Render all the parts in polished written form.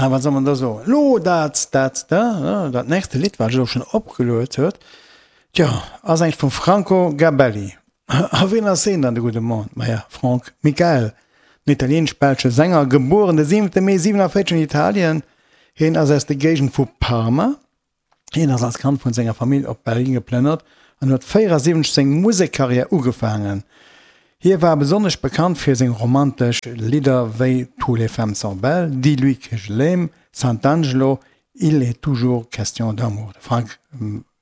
Ah, wat soll man da soen? Lo dat, dat, da, dat nächste Lidd, wat ech elo schonn opgeluet huet, tjo, ass engt vum Franco Gabelli. A wien ass heen dann, de gudde Mann? Maja, Frank Michael, en italieenesch-belsche Sänger, gebueren de 7. Mee 47 an Italien. Heen ass aus der Géigend vu Parma. Hien ass als Kand vun senger Famill op Berlin geplënnert an huet 74 seng Musekkarriär ugefaangen. Hie war besonnesch bekannt fir seng romantesch Lidder wéi Tous les femmes sont belles, Dis-lui que je l'aime, Sant'Angelo, Il est toujours question d'amour. De Frank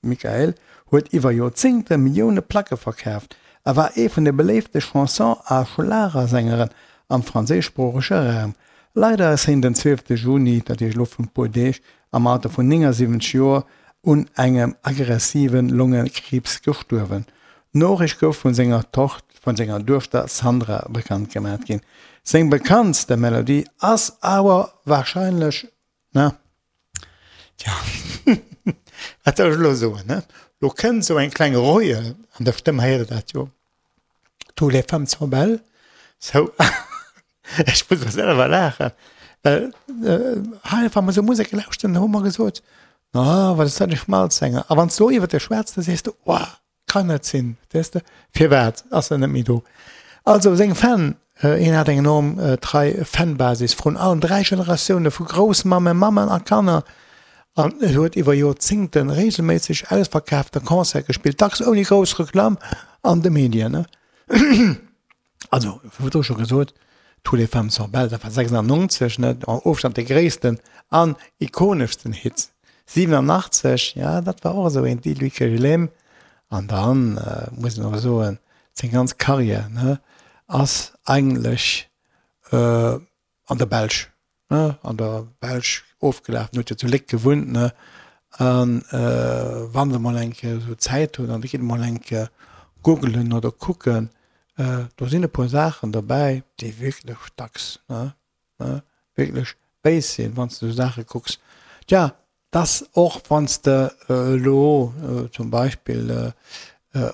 Michael huet iwwer Joerzéngte Millioune Placke verkaaft a war ee vun de beléifte Chanson a Schlagersängeren am franséischsproochege Raum. Leider ass hien den 12 Juni, dat heescht elo vrun e puer Deeg, am Alter vun 79 Joer un engem aggressive Longekriibs gestuerwen. D'Noriicht gouf vun senger Tocht vun senger Duechter Sandra bekannt gemat ginn. Seng bekanntste Melodie ass awer warscheinlech, na, tja, wat soll ech elo soen, ne? Lo kënnt esou eng kleng Reue an der Stëmm, héiert der dat jo, Tous les femmes sont belles, sou. Ech muss och selwer laachen, well hei, wa mer esou Musek lauschteren, hu mer gesot, Ah, wat ass dat e Schmalzsänger. A wann s du elo iwwert e schwätz, da sees du, Oh, kann net sinn, weess de. Firwat ass en net méi do? Also seng Fan, hien hat eng enorm trei Fanbasis vrun allem 3 Generatioune vu Groussmammen, Mammen a Kanner. An en huet iwwer Joerzéngte reegelméisseg ausverkaafte Concerte gespillt, dacks ouni grouss Reklamm an de Medien. Also, wéi virdru scho gesot, Tous les femmes sont belles, dat war 96, ne, am Ofstand de gréissten an ikoneschsten Hit. 87, ja, dat war och esou een, Dis-lui que je l'aime. An dann muss een awer soen, seng ganz Karriär, ne, ass eigentlech an der Belsch, ne, an der Belsch ofgelaf. En huet jo zu Léck gewunnt, ne, an wann se mol eng Kéier esou Zäit hunn an der gitt mol eng Kéier googelen oder kucken, do sinn e puer Saachen dobäi, déi wierklech dacks, ne, ne, wierklech béis sinn, wann s de esou Saache kucks. Tja, Dass och wann s de elo zum Beispill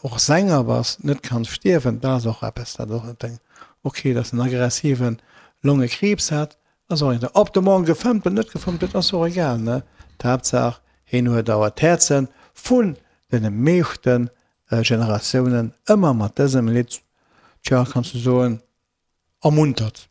och Sänger bass, net kanns stierwen, dat ass och eppes, dat och net deng, ok, dass en aggressive Longekriibs hat, ass och egal. Ob de morgen gefëmmt oder net gefëmmt huet, ass och egal, ne? D'Haaptsaach, hien huet awer d'Häerze vun deene meeschte Generatiounen ëmmer mat dësem Lidd, tja, kanns du soen, ermuntert.